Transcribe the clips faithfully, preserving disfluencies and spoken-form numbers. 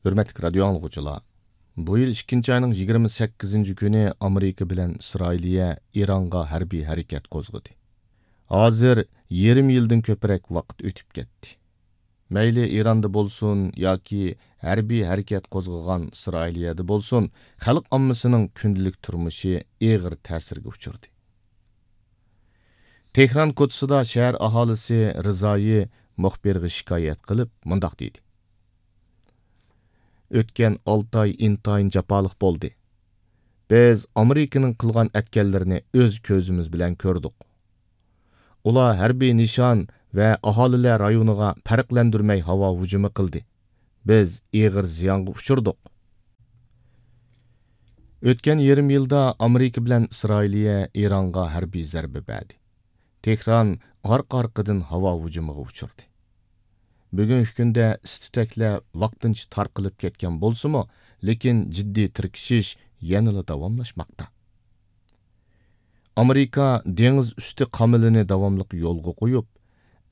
ھۆرمەتلىك رادىيو ئاڭلىغۇچىلار، بۇ يىل ئىككىنچى ئاينىڭ يىگىرمە سەككىزىنچى كۈنى ئامېرىكا بىلەن ئىسرائىلىيە ئىرانغا ھەربىي ھەرىكەت قوزغىدى. ھازىر يېرىم يىلدىن كۆپرەك ۋاقىت ئۆتۈپ كەتتى. مەيلى ئىراندا بولسۇن ياكى ھەربىي ھەرىكەت قوزغىغان ئىسرائىلىيەدە بولسۇن، خەلق ئاممىسىنىڭ كۈندىلىك تۇرمۇشى ئېغىر تەسىرگە ئۇچرىدى. تېھران كوچىسىدا شەھەر ئاھالىسى رىزايى مۇخبىرغا شىكايەت قىلىپ مۇنداق دېدى: «ئۆتكەن ئالتە ئاي ئىنتايىن جاپالىق بولدى. بىز ئامېرىكىنىڭ قىلغان ئەتكەنلىرىنى ئۆز كۆزىمىز بىلەن كۆردۇق. ئۇلار ھەربىي نىشان ۋە ئاھالىلەر رايونىغا پەرقلەندۈرمەي ھاۋا ھۇجۇمى قىلدى. بىز ئېغىر زىيانغا ئۇچرىدۇق.» ئۆتكەن يېرىم يىلدا ئامېرىكا بىلەن ئىسرائىلىيە ئىرانغا ھەربىي زەربە بەردى. تېھران ئارقا-ئارقىدىن ھاۋا ھۇجۇمىغا ئۇچرىدى. بۈگۈنكى كۈندە ئىس-تۈتەكلەر ۋاقتىنچە تارقىلىپ كەتكەن بولسىمۇ، لېكىن جىددىي تىركىشىش يەنىلا داۋاملاشماقتا. ئامېرىكا دېڭىز ئۈستى قامىلىنى داۋاملىق يولغا قويۇپ،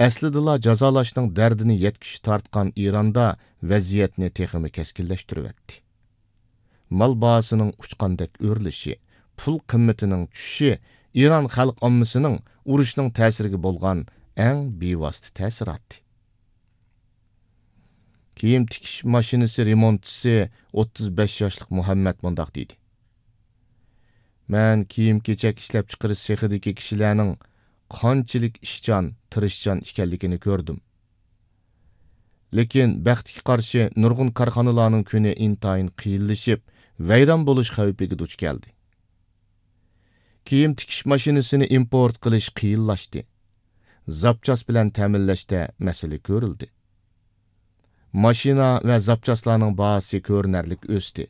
ئەسلىدىلا جازالاشنىڭ دەردىنى يەتكۈچە تارتقان ئىراندا ۋەزىيەتنى تېخىمۇ كەسكىنلەشتۈرۈۋەتتى. مال باھاسىنىڭ ئۇچقاندەك ئۆرلىشى، پۇل قىممىتىنىڭ چۈشۈشى ئىران خەلق ئاممىسىنىڭ ئۇرۇشنىڭ تەسىرىگە بولغان ئەڭ بىۋاسىتە تەسىراتى. كىيىم تىكىش ماشىنىسى رېمونتچىسى ئوتتۇز بەش ياشلىق مۇھەممەد مۇنداق دېدى: «مەن كىيىم-كېچەك ئىشلەپچىقىرىش سېخىدىكى كىشىلەرنىڭ قانچىلىك ئىشچان، تىرىشچان ئىكەنلىكىنى كۆردۈم. لېكىن بەختكە قارشى نۇرغۇن كارخانىلارنىڭ كۈنى ئىنتايىن قىيىنلىشىپ، ۋەيران بولۇش خەۋپىگە دۇچ كەلدى. كىيىم تىكىش ماشىنىسىنى ئىمپورت قىلىش قىيىنلاشتى. زاپچاس بىلەن تەمىنلەشتە مەسىلە كۆرۈلدى. ماشىنا ۋە زاپچاسلارنىڭ باھاسى كۆرۈنەرلىك ئۆستى.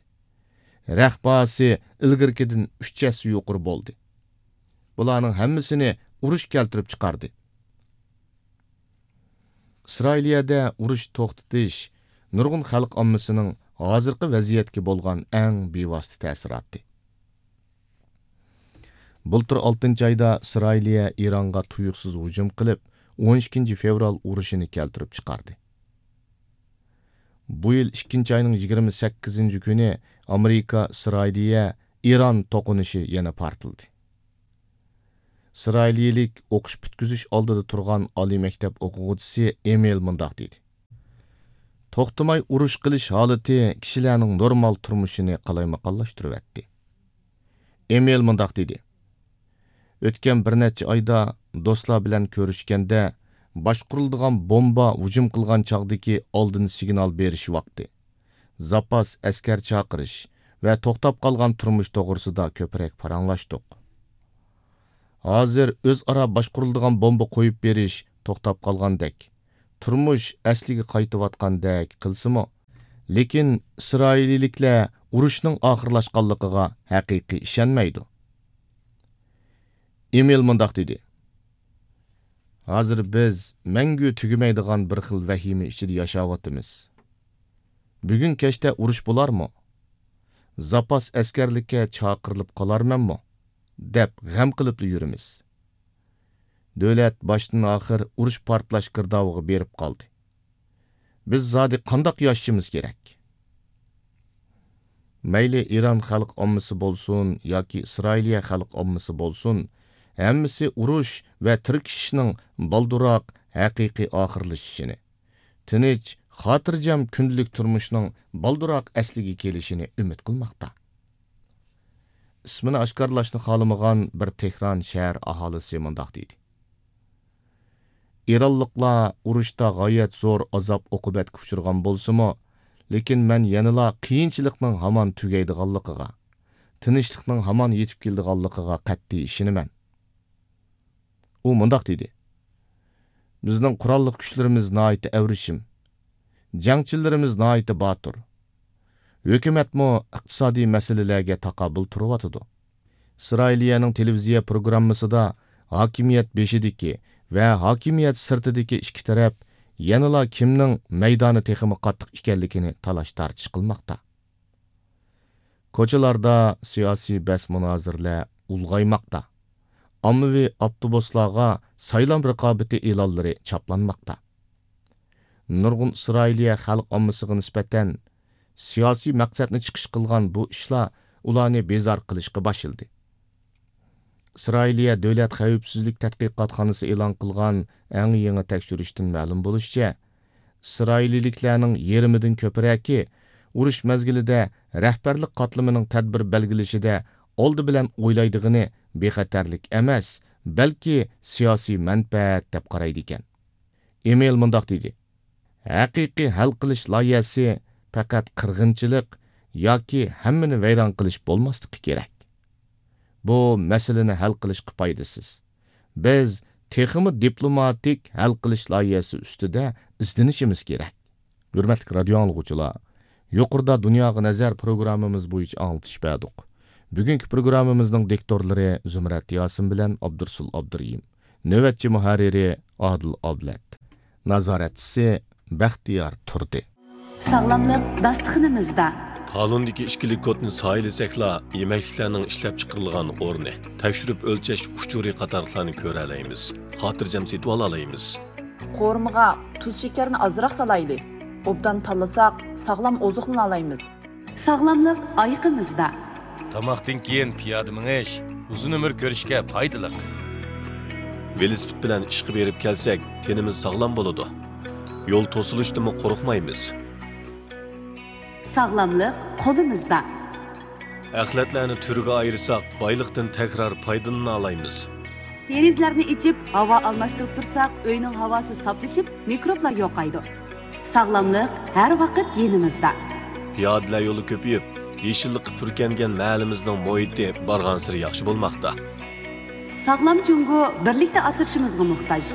رەخت باھاسى ئىلگىرىكىدىن ئۈچ ھەسسە يۇقىرى بولدى. بۇلارنىڭ ھەممىسىنى ئۇرۇش كەلتۈرۈپ چىقاردى.» ئىسرائىلىيەدە ئۇرۇش توختىتىش نۇرغۇن خەلق ئاممىسىنىڭ ھازىرقى ۋەزىيەتكە بولغان ئەڭ بىۋاسىتە تەسىراتى. بۇلتۇر ئالتىنچى ئايدا ئىسرائىلىيە ئىرانغا تۇيۇقسىز ھۇجۇم قىلىپ، ئون ئىككىنچى فېۋرال ئۇرۇشىنى كەلتۈرۈپ چىقاردى. بۇ يىل ئىككىنچى ئاينىڭ يىگىرمە سەككىزىنچى كۈنى ئامېرىكا، ئىسرائىلىيە، ئىران توقۇنۇشى يەنە پارتلىدى. ئىسرائىلىيىلىك ئوقۇش پۈتكۈزۈش ئالدىدا تۇرغان ئالىي مەكتەپ ئوقۇغۇچىسى ئېمىل مۇنداق دېدى: «توختىماي ئۇرۇش قىلىش ھالىتى كىشىلەرنىڭ نورمال تۇرمۇشىنى قالايمىقانلاشتۇرۇۋەتتى.» ئېمىل مۇنداق دېدى: «ئۆتكەن بىر نەچچە ئايدا دوستلار بىلەن كۆرۈشكەندە، باشقۇرۇلىدىغان بومبا ھۇجۇم قىلغان چاغدىكى ئالدىن سىگنال بېرىش ۋاقتى، زاپاس ئەسكەر چاقىرىش ۋە توختاپ قالغان تۇرمۇش توغرىسىدا كۆپرەك پاراڭلاشتۇق. ھازىر ئۆزئارا باشقۇرۇلىدىغان بومبا قويۇپ بېرىش توختاپ قالغاندەك، تۇرمۇش ئەسلىگە قايتىۋاتقاندەك قىلسىمۇ، لېكىن ئىسرائىلىيلىكلەر ئۇرۇشنىڭ ئاخىرلاشقانلىقىغا ھەقىقىي ئىشەنمەيدۇ.» ئېمىل مۇنداق دېدى: «ھازىر بىز مەڭگۈ تۈگىمەيدىغان بىر خىل ۋەھىمە ئىچىدە ياشاۋاتىمىز. بۈگۈن كەچتە ئۇرۇش بولارمۇ؟ زاپاس ئەسكەرلىككە چاقىرىلىپ قالارمەنمۇ؟ دەپ غەم قىلىپلا يۈرىمىز. دۆلەت باشتىن ئاخىر ئۇرۇش پارتلاش گىردابىغا بېرىپ قالدى. بىز زادى قانداق ياشىشىمىز كېرەك؟» مەيلى ئىران خەلق ئاممىسى بولسۇن ياكى ئىسرائىلىيە خەلق ئاممىسى بولسۇن، ھەممىسى ئۇرۇش ۋە تىركىشىشنىڭ بالدۇرراق ھەقىقىي ئاخىرلىشىشىنى، تىنچ، خاتىرجەم كۈندىلىك تۇرمۇشنىڭ بالدۇرراق ئەسلىگە كېلىشىنى ئۈمىد قىلماقتا. ئىسمىنى ئاشكارىلاشنى خالىمىغان بىر تېھران شەھەر ئاھالىسى مۇنداق دېدى: «ئىرانلىقلار ئۇرۇشتا غايەت زور ئازاب-ئوقۇبەتكە ئۇچرىغان بولسىمۇ، لېكىن مەن يەنىلا قىيىنچىلىقنىڭ ھامان تۈگەيدىغانلىقىغا، تىنچلىقنىڭ ھامان يېتىپ كېلىدىغانلىقىغا قەتئىي ئىشىنىمەن.» ئۇ مۇنداق دېدى: «بىزنىڭ قوراللىق كۈچلىرىمىز ناھايىتى ئەۋرىشىم. جەڭچىلىرىمىز ناھايىتى باتۇر. ھۆكۈمەتمۇ ئىقتىسادىي مەسىلىلەرگە تاقابىل تۇرۇۋاتىدۇ.» ئىسرائىلىيەنىڭ تېلېۋىزىيە پروگراممىسىدا ھاكىمىيەت بېشىدىكى ۋە ھاكىمىيەت سىرتىدىكى ئىككى تەرەپ يەنىلا كىمنىڭ مەيدانى تېخىمۇ قاتتىق ئىكەنلىكىنى تالاش-تارتىش قىلماقتا. كوچىلاردا سىياسىي بەس-مۇنازىرىلەر ئۇلغايماقتا. ئاممىۋى ئاپتوبۇسلارغا سايلام رىقابىتى ئېلانلىرى چاپلانماقتا. نۇرغۇن ئىسرائىلىيە خەلق ئاممىسىغا نىسبەتەن سىياسىي مەقسەتنى چىقىش قىلغان بۇ ئىشلار ئۇلارنى بىزار قىلىشقا باشلىدى. ئىسرائىلىيە دۆلەت خەۋپسىزلىك تەتقىقاتخانىسى ئېلان قىلغان ئەڭ يېڭى تەكشۈرۈشتىن مەلۇم بولۇشىچە، ئىسرائىلىيلىكلەرنىڭ يېرىمىدىن كۆپرەكى ئۇرۇش مەزگىلىدە رەھبەرلىك قاتلىمىنىڭ تەدبىر بەلگىلىشىدە ئالدى بىلەن ئويلايدىغىنى بىخەتەرلىك ئەمەس، بەلكى سىياسىي مەنپەئەت دەپ قارايدىكەن. ئېمىل مۇنداق دېدى: ھەقىقىي ھەل قىلىش لايىھەسى پەقەت قىرغىنچىلىق ياكى ھەممىنى ۋەيران قىلىش بولماسلىقى كېرەك. بۇ مەسىلىنى ھەل قىلىشقا پايدىسىز. بىز تېخىمۇ دىپلوماتىك ھەل قىلىش لايىھەسى ئۈستىدە ئىزدىنىشىمىز كېرەك. ھۆرمەتلىك رادىيو ئاڭلىغۇچىلار، يۇقىرىدا دۇنياغا نەزەر پروگراممىمىز بويىچە ئاڭلىتىش بەردۇق. بۈگۈنكى پروگراممىمىزنىڭ دىكتورلىرى زۇمرەت ياسىن بىلەن ئابدۇرسۇل ئابدۇرېھىم. نۆۋەتچى مۇھەررىرى ئادىل ئابلەت. نازارەتچىسى بەختىيار تۇردى. ساغلاملىق داستىخىنىمىزدا. تالوندىكى ئىككىلىك كودنى سايىلىسەكلا، يېمەكلىكلەرنىڭ ئىشلەپچىقىرىلغان ئورنى، تەكشۈرۈپ ئۆلچەش ئۇچۇرى قاتارلىقلارنى كۆرەلەيمىز، خاتىرجەم سېتىۋالالايمىز. قورۇمىغا تۇز شېكەرنى ئازراق سالايلى. ئوبدان تاللىساق، ساغلام ئوزۇقلىنالايمىز. ساغلاملىق ئايىقىمىزدا. تاماقتىن كېيىن پىيادە مېڭىش ئۇزۇن ئۆمۈر كۆرۈشكە پايدىلىق. ۋېلىسىپىت بىلەن ئىشقا بېرىپ كەلسەك، تېنىمىز ساغلام بولىدۇ. يول توسۇلۇشتىنمۇ قورقمايمىز. ساغلاملىق قولىمىزدا. ئەخلەتلەرنى تۈرگە ئايرىساق، بايلىقتىن تەكرار پايدىلىنالايمىز. دېرىزىلەرنى ئېچىپ، ھاۋا ئالماشتۇرۇپ تۇرساق، ئۆينىڭ ھاۋاسى ساپلىشىپ، مىكروبلار يوقايدۇ. ساغلاملىق ھەر ۋاقىت يېنىمىزدا. پىيادىلەر يولى كۆپىيىپ، يېشىللىققا پۈركەنگەن مەھەللىمىزنىڭ مۇھىتى بارغانسېرى ياخشى بولماقتا. ساغلام جۇڭگو بىرلىكتە ئاسرىشىمىزغا موھتاج.